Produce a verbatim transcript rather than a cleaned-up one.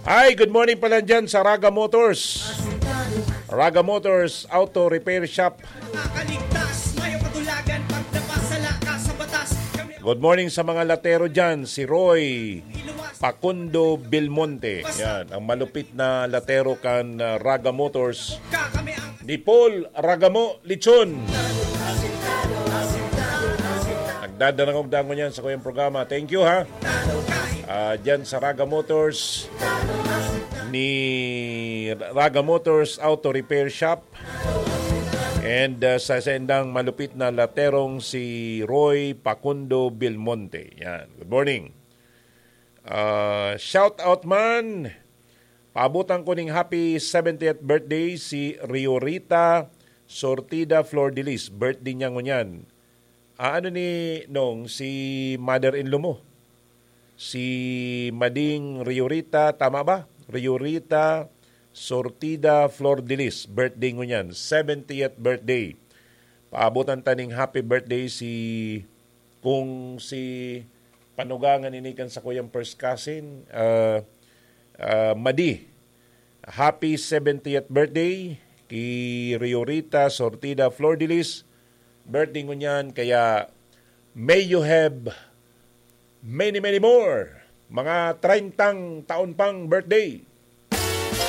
Hi, good morning pala dyan sa Raga Motors. Raga Motors Auto Repair Shop. Nakakaligtas, mayo katulagan pag napasala ka sa batas. Kami Good morning sa mga latero dyan. Si Roy iluwas Pacundo Belmonte. Yan, ang malupit na latero kan uh, Raga Motors. ka, kami ang Ni Paul Ragamo Lichon. Nagdadarangog dangon yan sa kuyang programa. Thank you, ha. Ah, dyan sa Raga Motors, ni Raga Motors Auto Repair Shop. And uh, sa sendang malupit na laterong si Roy Pacundo Belmonte. Yan. Good morning. Uh, shout out man. Paabutan ko ning happy seventieth birthday si Riorita Sortida Flor de Lis. Birthday niya ngunyan. Ah, ano ni Nong, si mother-in-law mo? Si Mading Riorita, tama ba? Riorita Sortida Flor de Lis. Birthday ngunyan. seventieth birthday. Paabutan ta ning happy birthday si kung si panugangan ini kan sa kuyang first cousin, ah, ah, Madi. Happy seventieth birthday ki Riorita Sortida Flor de Lis. Birthday ngunyan, kaya may you have many, many more. Mga treyntang taon pang birthday.